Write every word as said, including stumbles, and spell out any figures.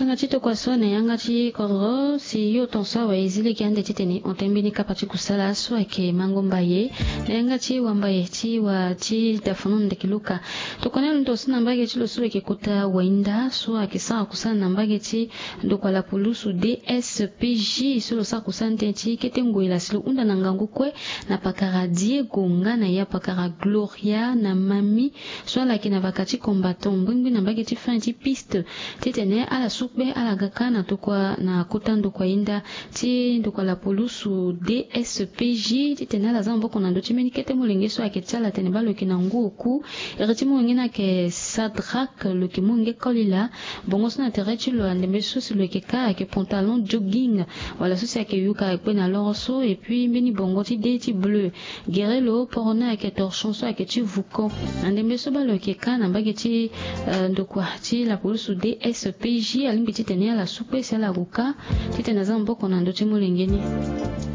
Yanga ti tokua so na yanga ti kodro si yo ton so awe e zi lege ande titene hon tene mbeni kapa ti kusala so ayeke mango mbaye na yanga ti wambaye ti wa ti dafonon ndeke luka. Tokua ni alondo so na mbage ti lo so lo yeke kota wainda so ayeke sara kusala na mbage ti ndokua lapulusu dspj so lo sara kusala ni tënë ti kete ngoi la si lo hunda na ngangu kue na pakara diego nga na ya pakara gloria na mami so ala yeke na vaka ti combattant ngbingbi na mbage ti fin ti piste titene ala sukpe ala ga kâ na tokua na kota ndokua inda ti ndokua lapulusu dspj titene ala za maboko na ndö ti mbeni kete molenge so ayeke ti ala atene baa lo yeke na ngu oku. Iri ti molenge ni ayeke sadrak lo yeke molenge kolila. Bongo so na tere ti lo andembe so si lo yeke kâ ayeke pantalon jogging wala so si ayeke yuka akpe na loro so epui mbeni bongo ti de ti bleu. Gere lo poro ni ayeke torchon so ayeke ti vuko. Na ndembe so baa lo yeke kâ na mbage ti ndokua ti lapulusu dspj alingbi titene ala sukpe si ala gue kâ titene aza maboko na ndö ti molenge ni.